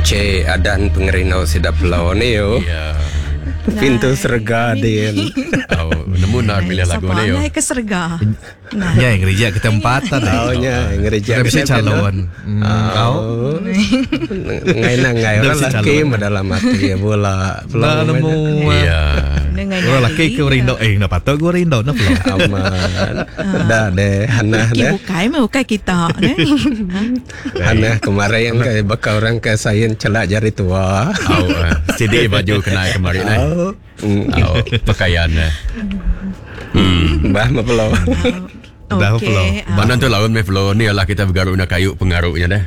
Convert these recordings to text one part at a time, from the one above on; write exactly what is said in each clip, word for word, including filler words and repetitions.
Kunci adan pengerinau sida pelau ni yo. Ya. Pintu serega din. Oh, nemu nak milih lagu ni yo. Siapa ke serega. Nah. Ya, gereja ke tempat tadi. Oh nya ngereja Kita bisa calon. Oh. Ngai na ngai Dah orang bisa laki calon. dalam hati bola. Lah nemu. Ya. Dengan Orang laki ke rindu eh nak patut gua rindu nak pelau. Aman. Dah deh Hanah Laki deh. bukai mah bukai kita ne. Hanah kemarin yang ke bakal orang ke sayin celak jari tua. Oh, C D baju kena kemarin eh. Oh. Oh, pakaian eh. Hmm. Bah mah pelau. Dah Okey. pelau. ah. Banan tu lawan me flow ni lah kita bergaruk nak kayu pengaruhnya deh.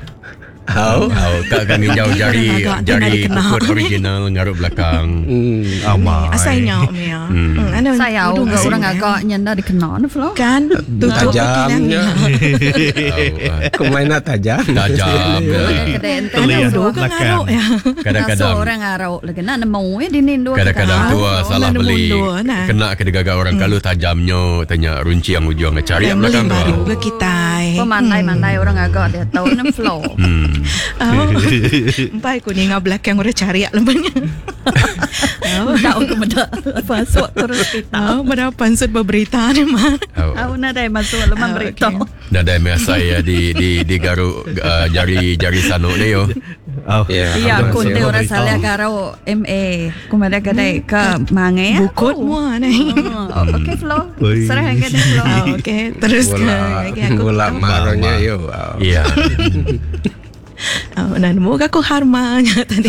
Oh. Oh, kak kan hijau jari Agak jari kena kukut original ngaruk belakang. Hmm. Amai. Asalnya Mia. Hmm. Anu Saya tudung orang orang asal. agak nyanda dikenal ni Flo. Kan tutup Tajamnya. Oh, Kemain tajam. tajam. ya. Kedai ente Telian. Aduh, kan Belakang. ngaruk ya. Kadang-kadang orang arok lagi nak nemu eh dinin dua. Kadang-kadang Ah, tua salah nak beli mundur, nah. kena ke digagak orang kalau tajamnya tanya runci yang ujung cari yang Beli belakang tu. baru ke kita. Pemandai-mandai orang agak dia tahu nem Flo. Hmm. Oh. Empai ku ni ngah belakang orang cari lembanya. Oh. Tak aku meda masuk terus kita. Oh, pada pansut berberita ni mah. Oh. Aku nak dah masuk leman Ah, berita. okey. Dah dah biasa ya di di di garuk uh, jari jari sanuk ni yo. Oh. Ya. Ya, Ada aku masih te orang berita. salah karo M A. Ku mada kedai ke mange. Bukut mua ni. Oh, okey Flo. Oi. Serah ke dia Flo. Oh, okey, terus ke Bola lagi aku. bola maronya yo. Wow. Ya. Oh, nah, nemu aku harmanya tadi.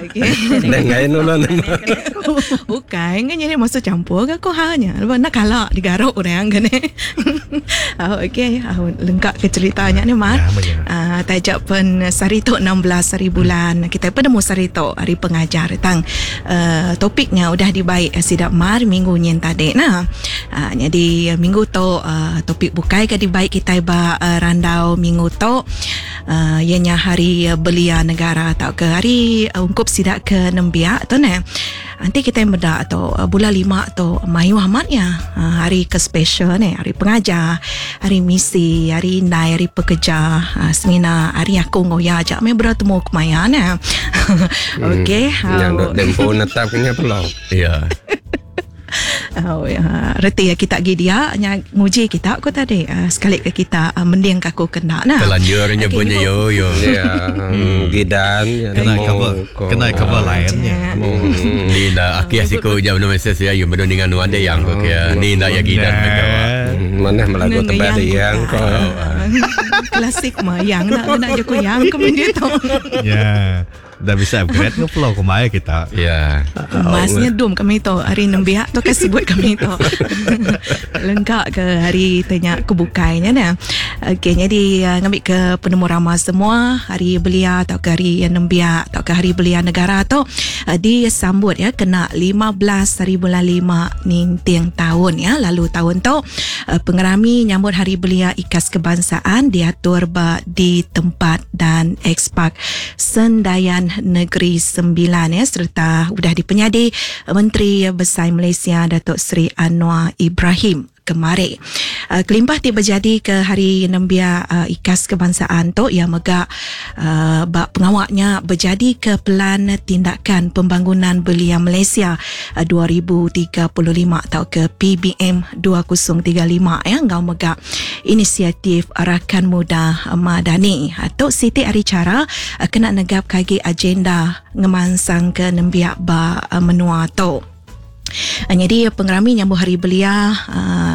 Okey. Dan ngai nulun. Bukan, kan jadi masuk campur ke aku hanya. Lepas nak kalah digaruk orang kan ni. Oh, okey, oh, lengkap ke ceritanya ni Mar. Ya, ya. Ah, tajak pen sehari tu enam belas hari bulan. Kita pun nemu sehari tu hari pengajar tang. Uh, topiknya udah dibaik eh, sidak Mar minggu nyen tadi nah. Uh, jadi eh, minggu tu uh, topik bukai ke dibaik kita ba uh, randau minggu tu uh, ianya hari uh, belia negara atau ke hari uh, ungkup sidak ke nembiak tu ne. Nanti kita yang bedak tu uh, bulan lima tu mayu amat ya. Uh, hari ke special ni, hari pengajar, hari misi, hari indai, hari pekerja, uh, semina hari aku ngoya ajak me bertemu kemaya ne. Okey. Yang how- dok tempo netap kena pelau. Ya. Oh, ya. Reti ya kita gi dia nya nguji kita aku tadi uh, sekali ke kita uh, mending ke aku kena nah. Telanjurnya Okey, punya ibu. yo yo. Ya, gidan ya Kena nemu cover ko. kena cover lainnya. Hmm. Ni dah akhir siku jam no mesej ya yo bedo dengan nuan dia yang ko ya. Ni dah ya gidan mereka. Hmm, Mana melagu Neng tebal yang ko. Klasik mah yang nak nak je ku yang ke dia tu. Ya. Dah bisa upgrade ke Flo kemaya kita. Ya. Masnya dum kami tu hari nembiak tu kan sebut kami tu. Lengkap ke hari tanya kebukainya nah. Okey jadi uh, ngambil ke penemu ramah semua hari belia atau ke hari nembiak atau ke hari belia negara tu uh, disambut ya kena lima belas hari bulan lima ninting tahun ya. Lalu tahun tu uh, pengerami nyambut hari belia Ikas Kebangsaan diatur ba di tempat dan ekspak Sendayan Negeri Sembilan ya serta sudah dipenyadi Menteri Besar Malaysia Datuk Seri Anwar Ibrahim kemari. Uh, kelimpah ti berjadi ke hari nembia uh, Ikas Kebangsaan tu yang megak uh, bak pengawaknya berjadi ke Pelan Tindakan Pembangunan Belia Malaysia uh, dua ribu tiga puluh lima atau ke P B M dua kosong tiga lima ya ngau megak inisiatif Rakan Muda Madani. Atau Siti Ari Cara uh, kena negap kagi agenda ngemansang ke nembiak ba uh, menua tu. Uh, jadi pengerami nyambut hari belia uh,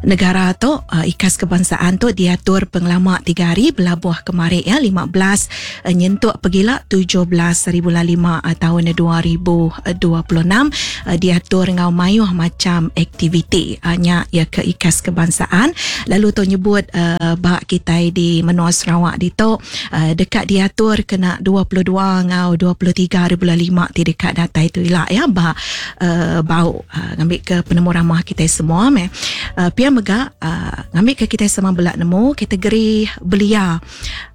negara tu uh, Ikas Kebangsaan tu diatur pengelama tiga hari belabuh kemarin ya lima belas uh, nyentuk pergila tujuh belas hari bulan lima uh, tahun dua ribu dua puluh enam uh, diatur ngau mayuh macam aktiviti uh, nya ya ke Ikas Kebangsaan lalu tu nyebut uh, bak kita di menua Sarawak di tu uh, dekat diatur kena dua puluh dua ngau dua puluh tiga hari bulan lima ti dekat datai tu ilak ya bak uh, Bau uh, ngambil ke penemu ramah kita semua meh. Uh, pia mega uh, ngambil ke kita sama belak nemu kategori belia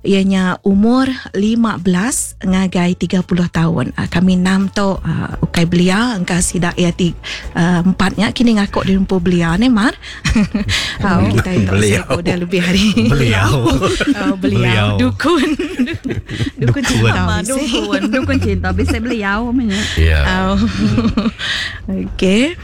ianya umur lima belas ngagai tiga puluh tahun. Uh, kami enam tu uh, ukai belia engka sida ia ti uh, empatnya kini ngaku di rumpu belia ni mar. Uh, kita itu udah lebih hari. Beliau. Oh, beliau. Dukun. Dukun cinta. Dukun, dukun cinta bisa beliau punya. Ya. Oh. Okey.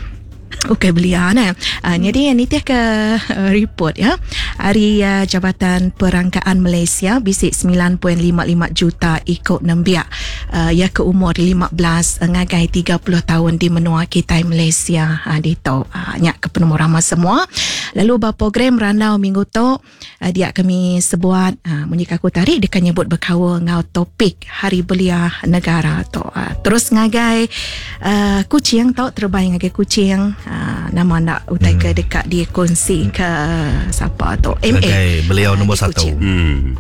Okey belia nah. Uh, jadi ni tiah ke uh, report ya. Hari uh, Jabatan Perangkaan Malaysia bisik sembilan perpuluhan lima lima juta ikut nembiak uh, ya ke umur lima belas ngagai tiga puluh tahun di menua kita Malaysia uh, di tu uh, nyak ke penemu ramah semua. Lalu ba program randau minggu tu uh, dia kami sebuat uh, munyi aku tarik dia nyebut berkaul ngau topik Hari Belia Negara tu. Uh, terus ngagai uh, kucing tau terbaik ngagai kucing. Uh, nama nak utai ke dekat dia kongsi ke siapa tu M A okay, beliau nombor satu. Hmm.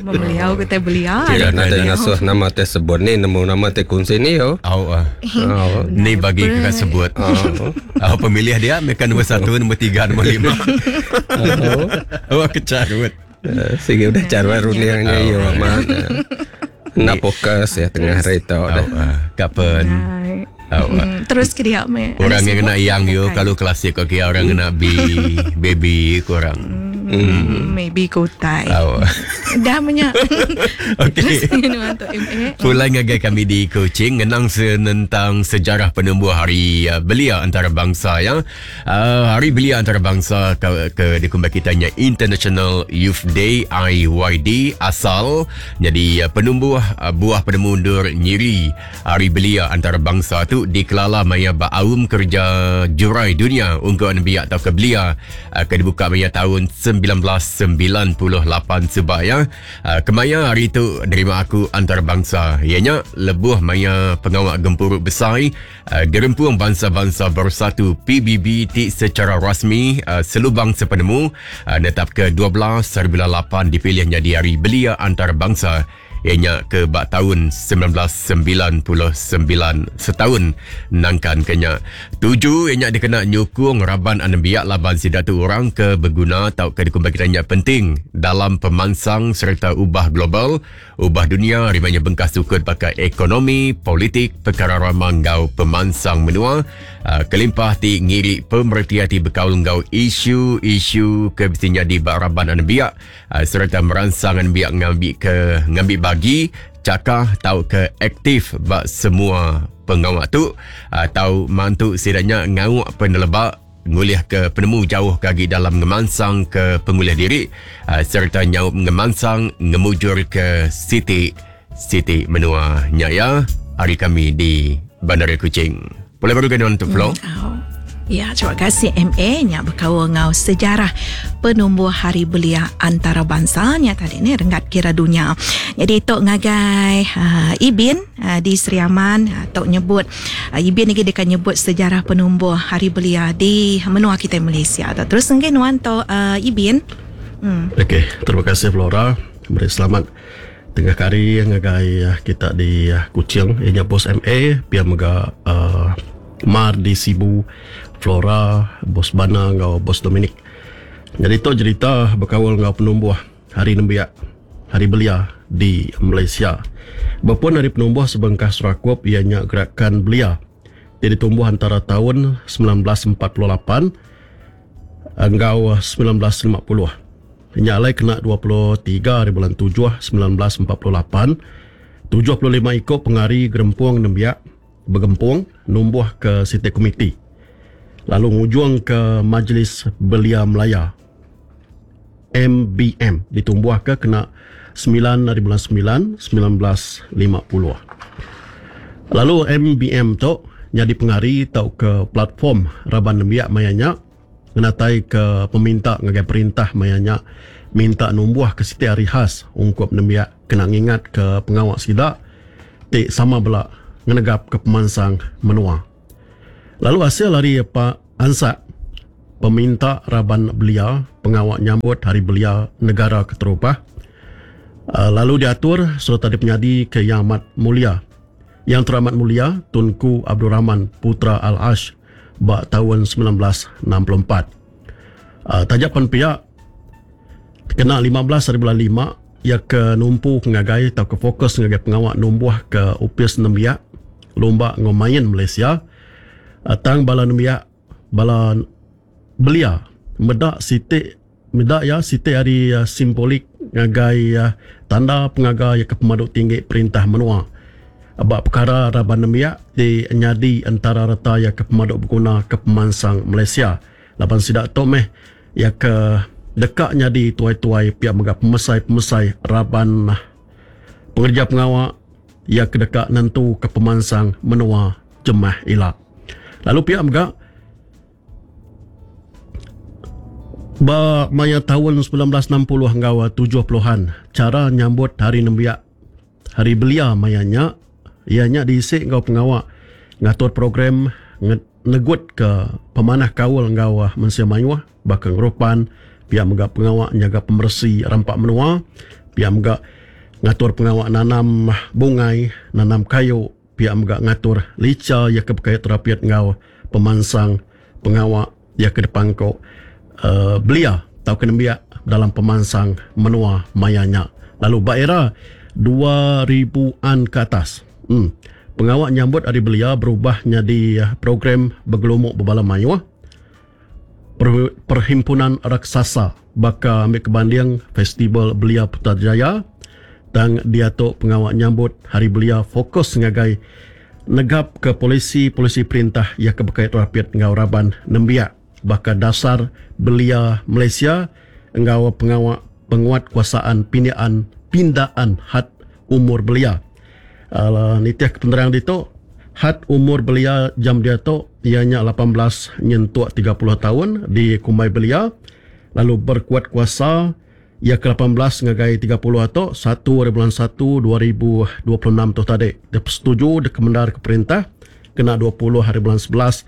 Beliau kata beliau. Kira nak ngasuh nama tersebut ni nemu nama te kongsi ni yo. Oh, uh. oh. Ni bagi kakak sebut. Oh. Oh, pemilih dia mereka nombor satu, nombor tiga, nombor lima. Oh, oh kecarut. Uh, sehingga udah cara runiangnya yo amat. Nak fokus ya tengah hari tu dah. Kapan? Oh, hmm, terus ke dia me. Orang yang kena yang yo kalau klasik okey orang kena B baby kurang. Hmm. Maybe kotai. Oh. Dah banyak. Okey. Pulang ngagai kami di Kuching ngenang senentang sejarah penumbuh Hari Belia Antarabangsa ya. Uh, Hari Belia Antarabangsa ke, ke dikumbai kitanya International Youth Day I Y D asal jadi penumbuh buah penemu undur nyiri Hari Belia Antarabangsa tu dikelala maya baaum kerja jurai dunia untuk nembiak atau ke belia ke dibuka maya tahun sembilan belas sembilan puluh lapan sebab ya. Kemaya hari tu nerima aku antarabangsa ianya lebuh maya pengawak gempuruk besar Gerempung Bangsa-Bangsa Bersatu P B B ti secara rasmi selubang sepenemu netap ke dua belas hari bulan lapan dipilih jadi Hari Belia Antarabangsa ianya ke bak tahun sembilan belas sembilan puluh sembilan setahun nangkan kenya. Tuju ianya dikena nyukung raban anembiak laban sidatu orang ke berguna tau ke dikumbai kitanya penting dalam pemansang serta ubah global, ubah dunia rimanya bengkas sukut pakai ekonomi, politik, perkara ramang ngau pemansang menua, uh, kelimpah ti ngiri pemerhati ti bekaul ngau isu-isu ke mestinya di bak raban anembiak, uh, serta merangsang anembiak ngambil ke ngambil bagi cakah tau ke aktif bak semua pengawak tu atau mantu sidanya ngawak penelebak ngulih ke penemu jauh kagi dalam ngemansang ke pengulih diri serta nyaup ngemansang ngemujur ke siti siti menua nyaya hari kami di Bandar Kuching. Boleh baru kena untuk flow. Hmm, ya, terima kasih M A nya berkaul ngau sejarah penumbuh Hari Belia Antarabangsa nya tadi ni renggat kira dunia. Jadi tok ngagai uh, Ibin uh, di Sri Aman uh, tok nyebut uh, Ibin ni dia kan nyebut sejarah penumbuh Hari Belia di menua kita Malaysia. Terus ngen nuan tok uh, Ibin. Hmm. Okey, terima kasih Flora. Beri selamat tengah hari ngagai kita di Kuching ianya bos M A pia mega uh, Mar di Sibu, Flora, Bos Bana ngau Bos Dominic. Jadi tu cerita berkawal ngau penumbuh Hari Nembiak, Hari Belia di Malaysia. Berpun hari penumbuh sebengkah serakup ianya Gerakan Belia. Dia ditumbuh antara tahun sembilan belas empat puluh lapan ngau sembilan belas lima puluh. Nyalai kena dua puluh tiga hari bulan tujuh sembilan belas empat puluh lapan. tujuh puluh lima ikut pengari gerempung nembiak bergempung numbuh ke Siti Komiti. Lalu ngujung ke Majlis Belia Melaya M B M ditumbuh ke kena sembilan hari bulan sembilan sembilan belas lima puluh. Lalu M B M tu jadi pengari tau ke platform raban nembiak mayanya ngenatai ke peminta ngagai perintah mayanya minta numbuh ke siti hari khas ungkup nembiak kena ngingat ke pengawak sidak tik sama belak ngenegap ke pemansang menua. Lalu hasil hari Pak Ansak peminta raban belia pengawak nyambut Hari Belia Negara Keterupah lalu diatur serta dipenyadi ke Yang Amat Mulia Yang Teramat Mulia Tunku Abdul Rahman Putra Al-Ash ba tahun sembilan belas enam puluh empat. Uh, tajapan pihak kena lima belas hari bulan lima ia ke numpu ngagai atau ke fokus ngagai pengawak numbuh ke upis nembiak lomba ngomain Malaysia. Uh, tang bala nembiak bala belia medak siti medak ya siti hari uh, simbolik ngagai uh, tanda pengaga ya ke pemadu tinggi perintah menua. Bak perkara raban nembiak di nyadi antara reta ya ke pemadu berguna ke pemansang Malaysia. Laban sidak tu meh ya ke dekat nyadi tuai-tuai pihak mega pemesai-pemesai raban pengerja pengawak ya ke dekat nentu ke pemansang menua jemah ila. Lalu pihak mega ba maya tahun sembilan belas enam puluh hingga tujuh puluhan cara nyambut hari nembiak hari belia mayanya ianya diisi ngau pengawak ngatur program negut ke pemanah kaul ngau mensia mayuh bakal ngerupan pihak mega pengawak nyaga pemersi rampak menua pihak mega ngatur pengawak nanam bungai nanam kayu pihak mega ngatur lica ya ke berkait terapiat ngau pemansang pengawak ya ke depan ko uh, belia tau ke nembiak dalam pemansang menua mayanya. Lalu ba era dua ribuan ke atas hmm, pengawak nyambut hari belia berubah jadi program bergelumuk berbala mayuh per, perhimpunan raksasa baka ambil kebanding Festival Belia Putrajaya dan dia tu pengawak nyambut hari belia fokus ngagai negap ke polisi-polisi perintah yang berkait rapiat ngau raban nembiak baka dasar belia Malaysia ngau pengawak penguat kuasaan pindaan pindaan had umur belia. Uh, nitiah kepenerang ditu had umur belia jam dia tu ianya lapan belas nyentuk tiga puluh tahun di Kumbai Belia lalu berkuat kuasa ia ke lapan belas ngagai tiga puluh atau satu hari bulan satu dua ribu dua puluh enam tu tadi. Dia setuju dia kemendar ke perintah kena dua puluh hari bulan sebelas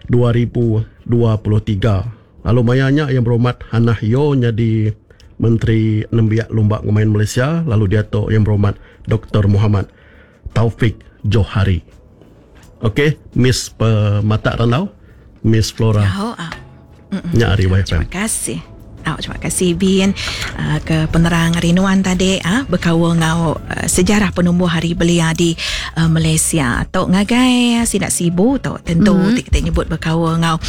dua ribu dua puluh tiga. Lalu mayanya yang berhormat Hannah Yeoh jadi Menteri Nembiak Lumba Ngemain Malaysia lalu dia tu yang berhormat Doktor Muhammad Taufik Johari. Okey, Miss Pematak Randau, Miss Flora. Oh, oh. Nya ari Y F M. Terima kasih. Oh, terima kasih Bin uh, ke penerang rinuan tadi ah uh, berkaul ngau uh, sejarah penumbuh hari belia di uh, Malaysia. Tok ngagai sidak Sibu tok tentu mm-hmm. kita nyebut berkaul ngau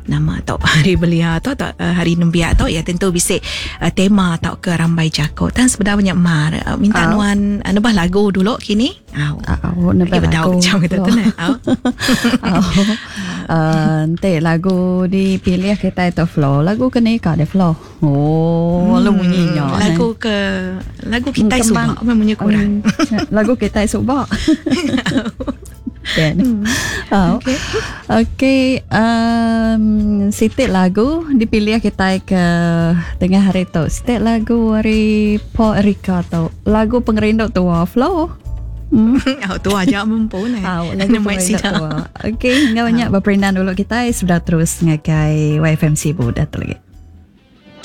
nama tok hari belia tok tok uh, hari nembiak tok ya tentu bisik uh, tema tok ke rambai jako. Tan sebenarnya mar uh, minta oh. nuan uh, nebah lagu dulu kini. Au. Au nebah lagu. Macam kita tu nah. Au. Nanti lagu dipilih kita itu flow. Lagu kena ikat dia flow. Oh, hmm, lu bunyinya. Lagu ke lagu kita subak memang bunyi kurang. Um, lagu kita subak. Kan. Oh. Okey. Okey, um sitik lagu dipilih kita ke tengah hari tu. Sitik lagu hari Paul Erika tu. Lagu pengerindu tua flow. Hmm. Oh, tua aja mampu ni. Oh, lagu pengerindu tua. Okey, enggak banyak berperindan dulu kita sudah terus ngagai Y F M Sibu dah lagi.